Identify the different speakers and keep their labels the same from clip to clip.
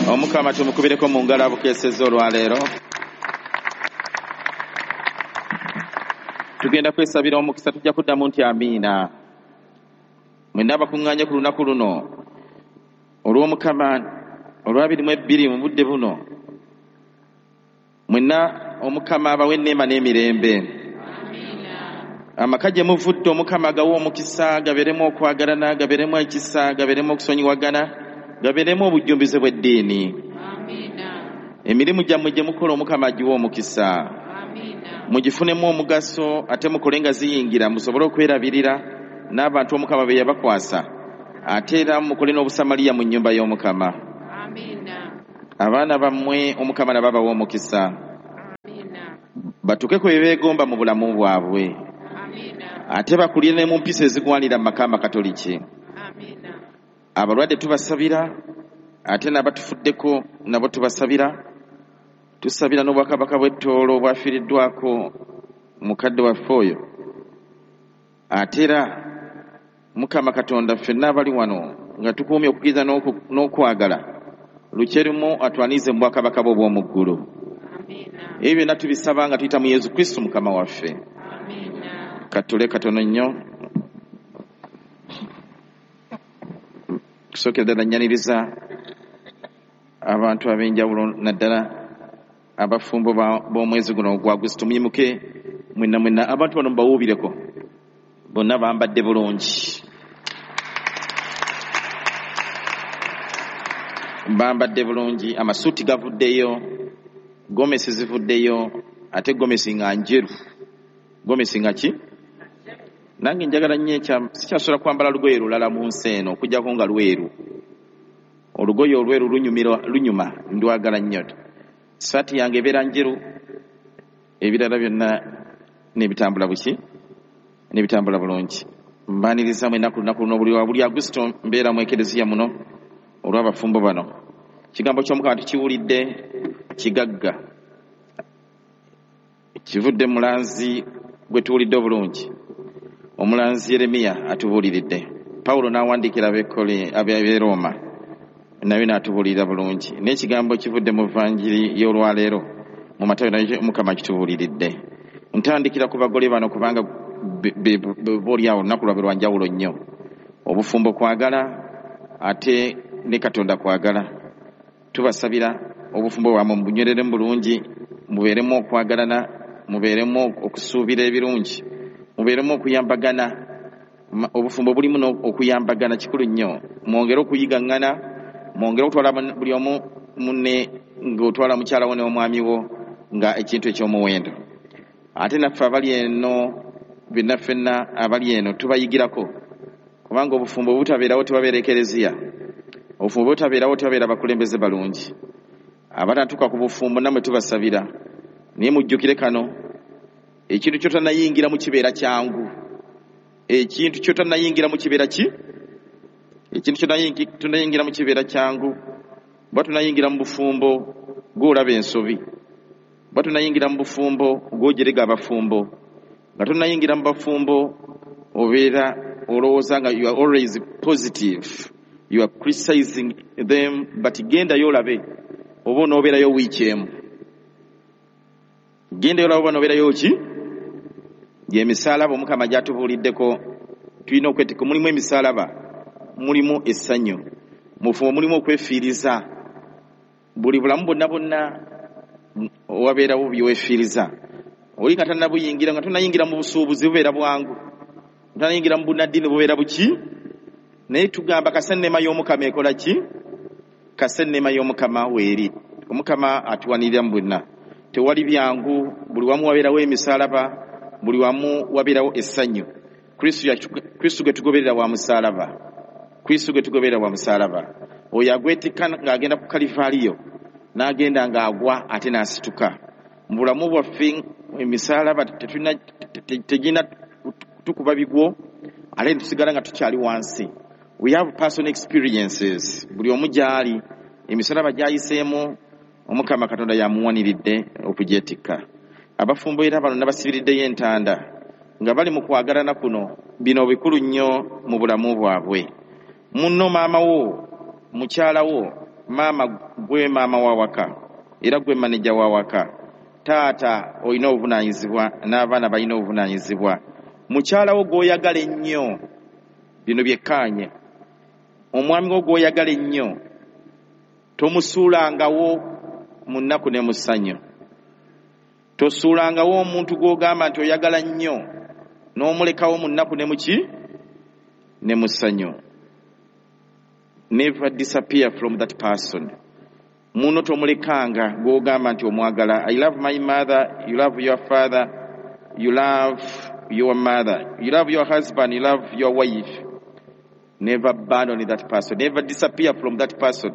Speaker 1: Omukama tumukubireko mu ngalo abukeesezza olwaleero. Tugenda kwesabira omukisa, tujja kuddamu nti amiina. Mwenna abakuŋŋaanye ku lunaku luno olw'Omukama olwa 22 mu budde buno, mwenna Omukama abawe enneema n'emirembe. Amaka gye muvudde Omukama agawe omukisa, gabeeremu okwagalana, gabeeremu ekisa, gabeeremu okusonyiwagana, gabeeremu obujjumbize bw'eddiini. Emirimu gyammwe gye mukola Omukama agiwe omukisa, mugifunemu omugaso, ate mukole nga ziyingira, musobole okwerabirira n'abantu Omukama be yabakwasa, ate era mukole n'obusamaliya mu nnyumba y'Omukama. Abaana bammwe Omukama nabo abawe omukisa, batuuke ku bye beegomba mu bulamu bwabwe, ate bakulire ne mu mpisa ezigwanira mu maka amakatoliki. Abalwadde tubasabira, ate n'abatufuddeko nabo tubasabira. Tusabira n'obwakabaka bw'Ettoolo obwafiiriddwako mukadde waffe oyo. Ate era Mukama Katonda, ffenna abali wano nga tukuumye okukkiriza n'okwagala, lukyerumu atwanirize mu bwakabaka bwe obw'omu ggulu. Ebyo byonna tubisaba nga tuyita mu Yesu Kristo Mukama waffe. Katule katono nnyo. Kusookera ddala nnyaniriza abantu ab'enjawulo, naddala abafumbo b'omwezi guno ogwa Agusito. Muyimuke mwenna mwenna, abantu bano mubawuubireko, bonna bambadde bulungi, bambadde bulungi, amasuuti gavuddeyo, gomesi zivuddeyo, ate gomesi nga njeru, gomesi nga ki. Nange njagala nnyo ekya, sikyasobola kwambala lugoye lulala mu nsi eno okuggyako nga lweru. Olugoye olweru lunyumira, lunyuma, ndwagala nnyo. Saati yange ebeera njeru, ebirala byonna n'ebitambula buki, n'ebitambula bulungi. Mbaniriza mwenna ku lunaku luno. Buli wa buli Agusito mbeera mu ekereziya muno olw'abafumbo bano. Ekigambo ky'Omukama tukiwulidde, kigagga, kivudde mulanzi gwe tuwulidde obulungi, omulanzi Yeremiya atubuuliridde, Pawulo n'awandiikira ab'e Rooma naye n'atubuulirira bulungi, n'ekigambo kivudde mu vanjiri y'olwaleero mu Matayo naye Omukama kitubuuliridde. Ntandikira ku bagole bano kubanga boolyawo olunaku lwabwe lwa njawulo nnyo. Obufumbo kwagala, ate ne Katonda kwagala. Tubasabira obufumbo bwammwe mubunywereremu bulungi, mubeeremu okwagalana, mubeeremu okusuubira ebirungi, mubeeremu okuyambagana. Obufumbo bulimu okuyambagana, kikulu nnyo. Mwongere okuyigaŋŋana, mwongere okutwala buli omu munne ng'otwala mukyala wo n'omwami wo nga ekintu eky'omuwendo. Ate naffe abali eno, byonna ffenna abali eno tubayigirako, kubanga obufumbo butabeerawo tebabeera ekereziya, obufumbo butabeerawo tebabeera bakulembeze balungi. Abatatuuka ku bufumbo nammwe tubasabira, naye mujjukire kano: ekintu ky'otannayingiramu kibeera kyangu. Ekintu ky'otannayingiramu kibeera ki? Ekintu ky'otannayingiramu kibeera kyangu. Bwa tunayingira mu bufumbo, gw'olaba ensobi. Bwa tunayingira mu bufumbo, gw'ojerega abafumbo. Nga tonnayingira mu bafumbo, obeera olowooza nga you are always positive, you are criticizing them, but gendayo olabe oba onoobeerayo wiiki emu. Gendayo olabe oba onoobeerayo ki. Gy'emisaalaba Omukama gy'atubuuliddeko tulina okwetika. Mulimu emisaalaba, mulimu essanyu mu bufumbo, mulimu okwefiiriza. Buli bulamu bwonna bwonna wabeerawo byewefiiriza. Oli nga tannabuyingira, nga tonnayingira mu busuubuzi bubeera bwangu, tonnayingira mu bunnaddiini bubeera buki, naye tugamba kasa enneema y'Omukama ekola ki? Kasa enneema y'Omukama weeri. Omukama atuwanirira mu bwonna. Tewali byangu, buli wamu wabeerawo emisaalaba, buli wamu wabeerawo essanyu. Kristo gwe tugoberera wa musaalaba, Kristo gwe tugoberera wa musaalaba. Oyo agwetikka ng'agenda ku Kalivaaliyo, n'agenda ng'agwa ate n'asituka. Mu bulamu bwaffe emisaalaba tegirina tukuba bigwo ate tusigala nga tukyali wansi. We have personal experiences, buli omu gy'ali emisalaba gy'ayiseemu, Omukama Katonda yamuwaniridde okugyetikka. Abafumbo era bano nabasibiriddeyo entanda nga bali mu kwagalana kuno. Bino bikulu nnyo mu bulamu bwabwe. Munno, maama wo, mukyala wo. Maama gwe maama w'awaka era gwe maneja w'awaka. Taata olina obuvunaanyizibwa n'abaana balina obuvunaanyizibwa. Mukyala wo gw'oyagala ennyo, bino byekkaanye. Omwami wo gw'oyagala ennyo tomusuulangawo mu nnaku ne mu ssanyu. Tosuulangawo omuntu gw'ogamba nti oyagala nnyo n'omulekawo mu nnaku ne mu ki? Ne mu ssanyu. Never disappear from that person. Muno tomulekanga gw'ogamba nti omwagala. I love my mother, you love your father, you love your mother, you love your husband, you love your wife. Never abandon that person. Never disappear from that person.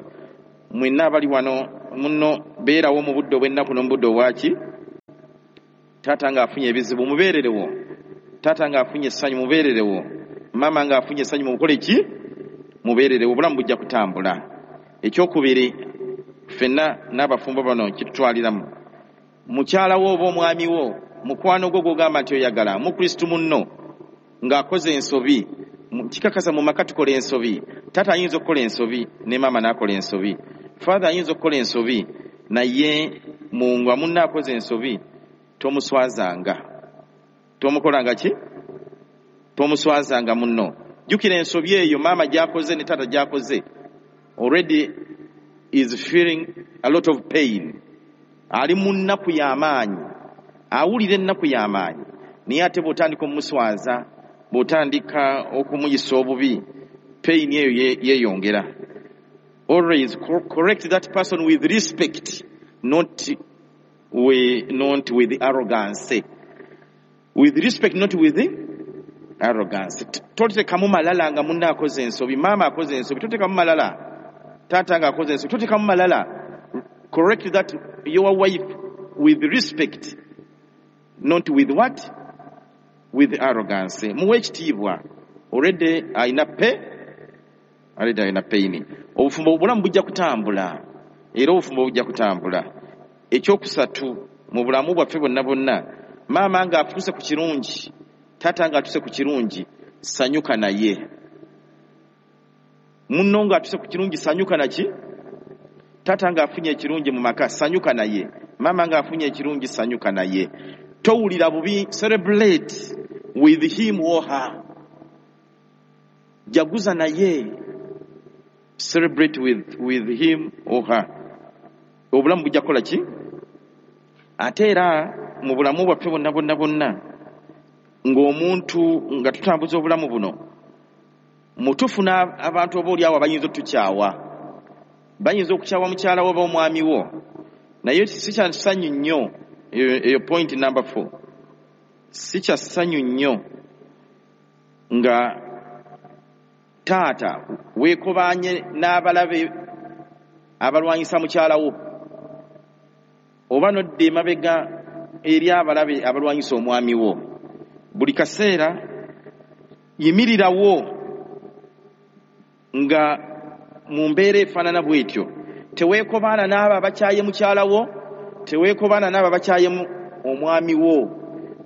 Speaker 1: Mwenna abali wano muno beerawo mu budde obw'ennaku n'omu budde obwaki. Taata ng'afunye ebizibu mubeererewo. Taata ng'afunye essanyu mubeererewo. Maama ng'afunye essanyu mukole ki? Mubeererewo. Obulamu bujja kutambula. Ekyokubiri, ffenna n'abafumbo bano kitutwaliramu. Mukyala wo oba omwami wo, mukwano gwo gw'ogamba nti oyagala, Mukristu munno ng'akoze ensobi, kikakasa mu maka tukola ensobi. Taata ayinza okukola ensobi ne maama n'akola ensobi. Father ayinza okukola ensobi, naye nga munno akoze ensobi tomuswazanga. Tomukolanga ki? Tomuswazanga munno. Jjukira ensobi eyo maama gy'akoze ne taata gy'akoze, already is feeling a lot of pain. Ali mu nnaku y'amaanyi, awulira ennaku y'amaanyi. Naye ate bw'otandika omumuswaza, bw'otandika okumuyisa obubi, pain eyo yeeyongera. Always correct that person with respect, not with arrogance. With respect, not with arrogance. Toteekamu malala nga munno akoze ensobi, maama akoze ensobi, toteekamu malala. Taata ng'akoze ensobi, toteekamu malala. Correct that your wife with respect, not with what? With arrogance. Muwe ekitiibwa. Already alina pe, already alina pain. Obufumbo obulamu bujja kutambula. Era obufumbo bujja kutambula. Ekyokusatu mu bulamu bwaffe bonna bonna, maama ng'atuuse ku kirungi, taata ng'atuuse ku kirungi, sanyuka naye. Munno ng'atuuse ku kirungi, sanyuka naki? Taata ng'afunye ekirungi mu maka, sanyuka naye. Maama ng'afunye ekirungi, sanyuka naye. Towulira bubi, celebrate with him or her. Jaguza naye. Celebrate with him or her. Obulamu bujja kukola ki? Ate era mu bulamu bwaffe bonna bonna bonna, ng'omuntu nga tutambuza obulamu buno, mutufuna abantu oba oli awo abayinza otutukyawa. Bayinza okukyawa mukyala wo oba omwami wo. Naye si kya ssanyu nnyo, eyo point number 4. Si kya ssanyu nnyo nga taata weekobaanye n'abalabe abalwanyisa mukyala wo, oba n'odda emabega eri abalabe abalwanyisa omwami wo. Buli kaseera yimirirawo nga mu mbeera efaanana bw'etyo. Teweekobaana n'abo abakyaye mukyala wo, teweekobaana n'abo abakyaye omwami wo.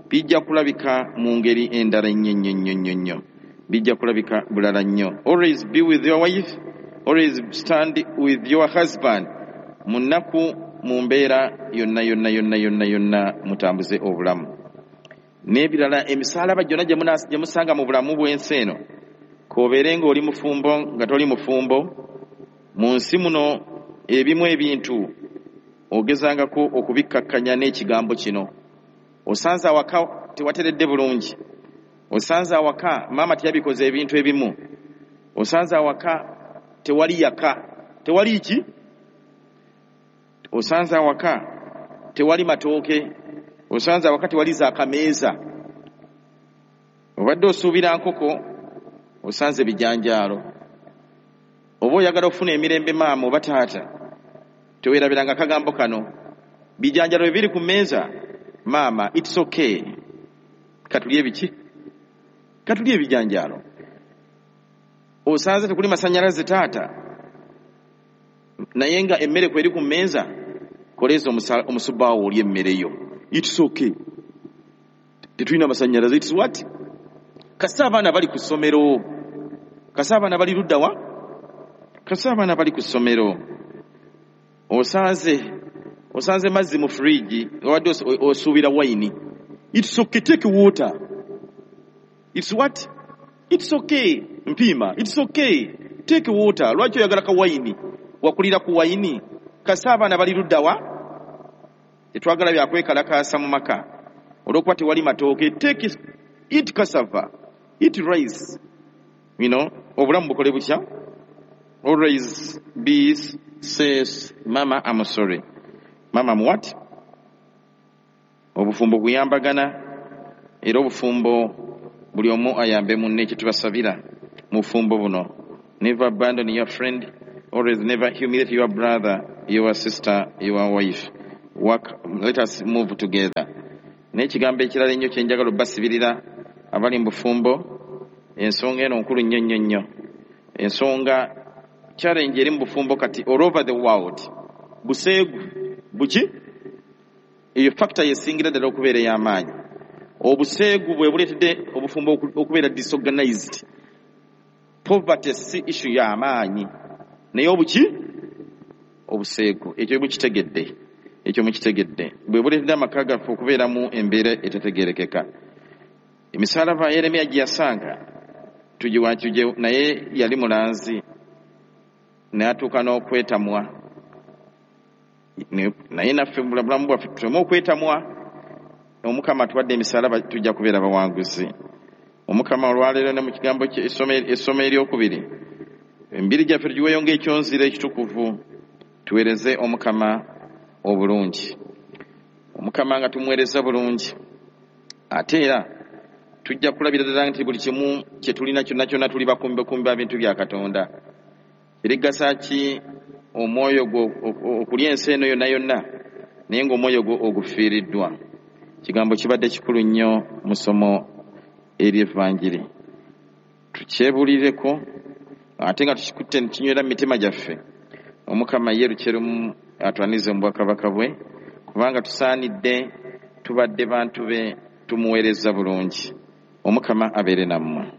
Speaker 1: Bijja kulabika mu ngeri endala ennyo nnyo nnyo nnyo nnyo. Bijja kulabika bulala nnyo. Always be with your wife, always stand with your husband. Mu nnaku, mu mbeera yonna yonna yonna yonna yonna mutambuze obulamu. N'ebirala emisaalaba gyonna gye musanga mu bulamu bw'ensi eno, k'obeere ng'oli mufumbo nga toli mufumbo, mu nsi muno ebimu ebintu ogezangako okubikkakkanya n'ekigambo kino. Osanze awaka tewateredde bulungi. Osanze awaka maama teyabikoze ebintu ebimu. Osanze awaka tewali yaka. Tewali ki? Osanze awaka tewali matooke. Osanze awaka tewali zaakameeza. Obadde osuubira nkoko, osanze bijanjaalo. Oba oyagala okufuna emirembe maama oba taata, teweerabiranga akagambo kano. Bijanjaalo bwe biri ku mmeeza, maama, it's okay. Katulye biki? Katulye ebijanjaalo. Osanze tekuli masannyalaze taata, naye nga emmere kweri ku mmeeza, koleeza omusubbaawo olye emmere yo. It's okay. Tetulina masannyalaze, it's what? Kasita abaana bali ku ssomero. Kasita abaana bali ludda wa? Kasita abaana bali ku ssomero. Osanze mazzi mu fridge, obadde osuubira wine. It's okay, take water. It's what? It's okay. Mpiima, it's okay. Take water. Lwaki oyagala ka wine? Wakulira ku wine. Kasa abaana bali ludda wa? Tetwagala bya kwekalakaasa mu maka. Olw'okuba tewali matooke, take it, eat cassava, eat rice. You know, obulamu bukole butya? Always be says, Mama, I'm sorry. Mama, I'm what? Obufumbo kuyambagana, era obufumbo buli omu ayambe munne, kye tubasabira mu bufumbo buno. Never abandon your friend, always never humiliate your brother, your sister, your wife. Work, let us move together. N'ekigambo ekirala ennyo kye njagala obbasibirira abali mu bufumbo, ensonga eno nkulu nnyo nnyo nnyo. Ensonga challenge eri mu bufumbo kati all over the world, buseegu buki? Eyo factor yesingira ddala okubeera ey'amaanyi. Obuseegu bwe buleetedde obufumbo okubeera disorganized. Poverty si issue y'amaanyi, naye obuki? Obuseegu. Ekyo mukitegedde, ekyo mukitegedde, bwe buleetedde amaka gaffe okubeeramu embeera etategeerekeka. Emisalaba Yeremiya gye yasanga tugiwakije, naye yali mulanzi n'atuuka n'okwetamwa. Naye naffe mu bulamu bwaffe tuteme okwetamwa. Omukama atuwadde emisalaba, tujja kubeera bawanguzi. Omukama olwaleero ne mu kigambo kye, essomo eryokubiri, emibiri gyaffe tugiweeyo ng'ekyonzira ekitukuvu, tuweereze Omukama obulungi. Omukama nga tumuweereza bulungi, ate era tujja kulabira ddala nti buli kimu kye tulina kyonna kyonna tuli bakumbekumbe ba bintu bya Katonda. Erigasa ki omwoyo gwo okulya ensi eno yonna yonna, naye ng'omwoyo gwo ogufiiriddwa? Kigambo kibadde kikulu nnyo mu ssomo ery'Evanjiri. Tukyebulireko ate nga tukikutte ne kinywera mu mitima gyaffe. Omukama ye lukyerumu atwanize mu bwakabaka bwe, kubanga tusaanidde, tubadde bantu be, tumuweereza bulungi. Omukama abeere nammwe.